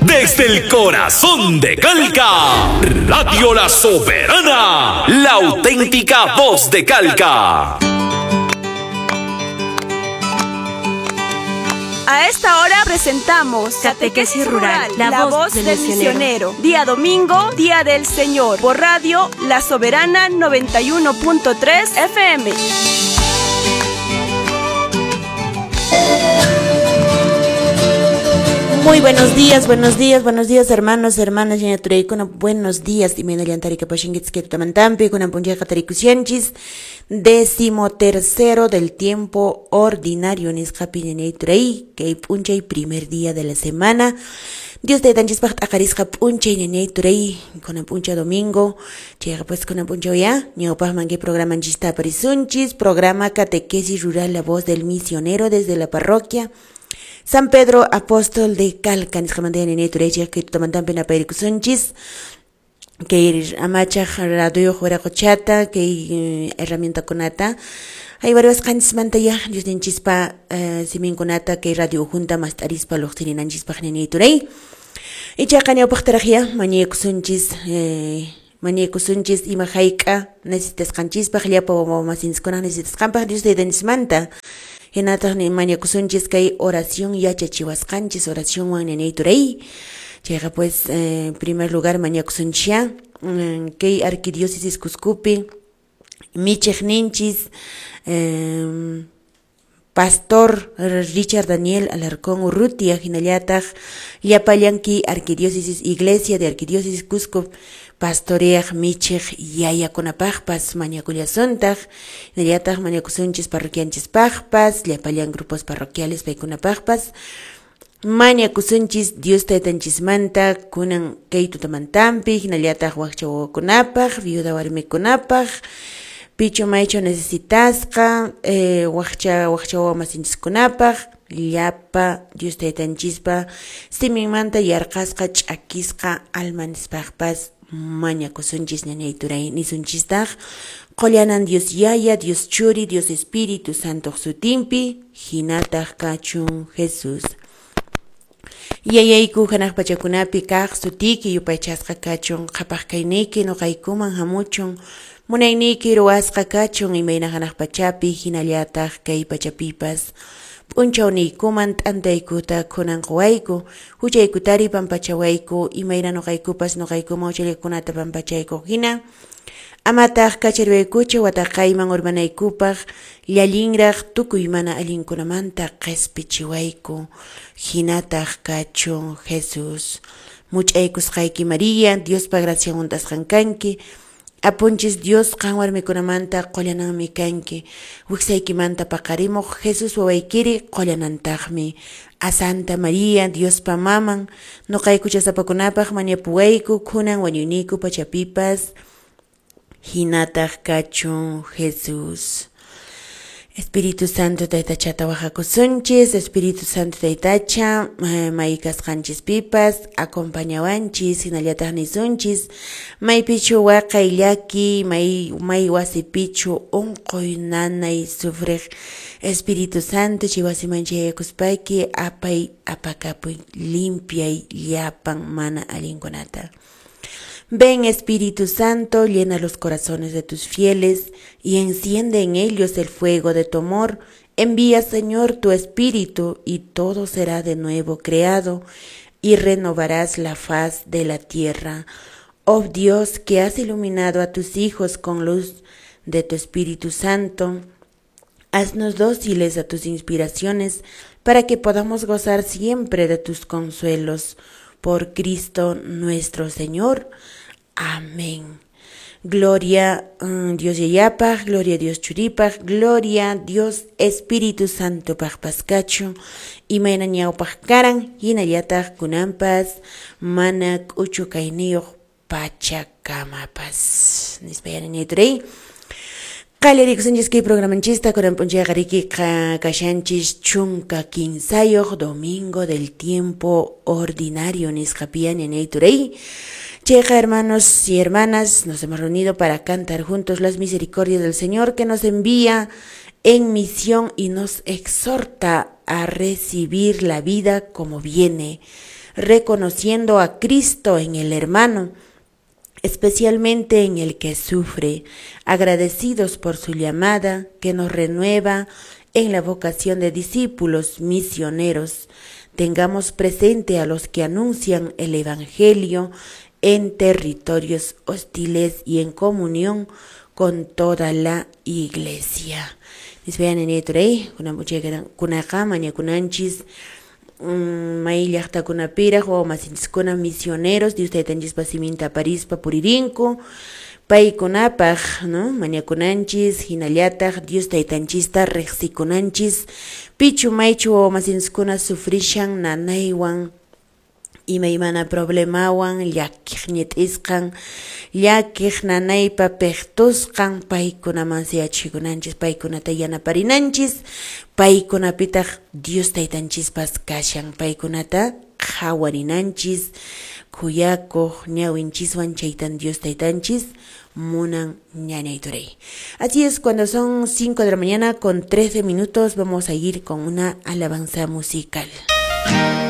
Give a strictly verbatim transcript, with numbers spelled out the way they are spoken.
Desde el corazón de Calca, Radio La Soberana, la auténtica voz de Calca. A esta hora presentamos Catequesis Rural, la, la voz, voz del, del misionero. misionero. Día domingo, Día del Señor, por Radio La Soberana noventa y uno punto tres F M. Muy buenos días, buenos días, buenos días, hermanos, hermanas, buenos días. Décimo tercero del tiempo ordinario, que primer día de la semana. Dios te tanchispaq t'aqarisqa p'unchay ñañay turay kunan p'uncha domingo chayqa pues kunan p'unchaw ya ñawpaqman kay programanchista aparisunchis, programa Catequesis Rural, la voz del misionero desde la parroquia San Pedro Apóstol de Calca, nisqamanta ñañay turay chayqa tutamantanpi napayrikusunchis kay amachaq radioyuq wiraqochata kay herramientakunata hay variasqanchismanta ya Diosninchispa siminkunata kay radio junta mast'arispa luqsirinanchispaq ñañay turay ichaqa ñawpaqtaraq ya mañaykusunchis mañaykusunchis ima hayk'a necesitasqanchispaq llapa wawamasinchikkunaq necesitasqanpaq Dios taytanchismanta hinataq mañakusunchis kay oración yachachiwasqanchis oracionwan ñañay turay chayqa pues en primer lugar mañakusunchis kay arquidiócesis Cuscupi michiq ninchis eh, Pastor Richard Daniel Alarcón Urrutia, hinallataq llapallanki arquidiócesis Iglesia de Arquidiócesis Cusco pastoreaq michiq yayakunapaqpas mañakullasuntaq hinallataq mañakusunchis parroquianchispaqpas llapallan grupos parroquiales paykunapaqpas mañakusunchis Dios taytanchismanta kunan kay tutamantanpi hinallataq wakcha wawakunapaq viuda warmikunapaq pichu maychu necesitasqa eh, wakcha wakcha wawamasinchiskunapaq llapa Dios taytanchispa siminmanta yarqasqa ch'akisqa almanispaqpas mañakusunchis ñañay turay nisunchistaq qollanan Dios Yaya, Dios Churi, Dios Espíritu Santo sutinpi hinataq kachun Jesús. Yayayku hanaq pachakunapi kaq sutiki yupaychasqa kachun qhapaq kayniyki nuqaykuman hamuchun munayniyki ruwasqa kachun imayna hanaq pachapi hinallataq kay pachapipas p'unchawniykuman t'antaykuta kunan quwayku huchaykutari pampachawayku imayna nuqaykupas nuqaykuman huchallikunata pampachayku hina amataq kachariwaykuchu wataqayman urmanaykupaq llallinraq tukuy mana allinkunamanta qhispichiwayku hinataq kachun Jesús. Much'aykusqayki María, Diospa gracian hunt'asqan kanki apunchis Dios qan warmikunamanta qullananmi kanki wiksaykimanta paqarimuq Jesús wawaykiri qullanantaqmi a Santa María, Diospa maman nuqayku chasapakunapaq mañapuwayku kunan wañuyniyku pachapipas hinataq kachun Jesús. Espíritu Santo taytachata wajakusunchis, Espíritu Santo taytacha maykasqanchis pipas acompañawanchis hinallataq nisunchis maypichu waqay llaki may may wasipichu unquy nanay sufriq Espíritu Santo chay wasiman chayaykuspayki apay apakapuy limpiay llapan mana allinkunata. Ven Espíritu Santo, llena los corazones de tus fieles y enciende en ellos el fuego de tu amor. Envía, Señor, tu Espíritu y todo será de nuevo creado y renovarás la faz de la tierra. Oh Dios, que has iluminado a tus hijos con luz de tu Espíritu Santo, haznos dóciles a tus inspiraciones para que podamos gozar siempre de tus consuelos. Por Cristo nuestro Señor. Amén. Gloria um, Dios Yayapaj, gloria Dios Churipaj, gloria Dios Espíritu Santo pajpaskachu, imayna ñawpaj karan, hinallataq kunanpas, mana k'uchu kayniyuq pachakamapas. Nispa ñañay turay. Qallarikusunchis kay programanchista kunan p'unchayqa riki kashanchis chunka kinsayuq domingo del tiempo ordinario nisqapiya ñañay turay. Chayqa hermanos y hermanas, nos hemos reunido para cantar juntos las misericordias del Señor que nos envía en misión y nos exhorta a recibir la vida como viene. reconociendo a Cristo en el hermano, especialmente en el que sufre, agradecidos por su llamada que nos renueva en la vocación de discípulos misioneros. Tengamos presente a los que anuncian el Evangelio en territorios hostiles y en comunión con toda la iglesia. Kunaqa mañakunanchis may llaqtakunapiraq wawa masinchiskuna misioneros Dios taytanchispa siminta aparispa puririnku paykunapaq, no, mañakunanchis, hinallataq Dios taytanchista riqsikunanchis pichu maychu wawa masinchiskuna sufrishan nanaywan imaymana problemawan llakiq ñit'isqan llakiq nanaypa piqtusqan paykunaman yachachikunanchis, paykunata yanaparinanchis, paykunapitaq Dios taytanchispas kashan, paykunata qhawarinanchis khuyakuq ñawinchiswan, chaytan Dios taytanchis munan, ñañay turay. Así es, cuando son cinco de la mañana con trece minutos, vamos a ir con una alabanza musical.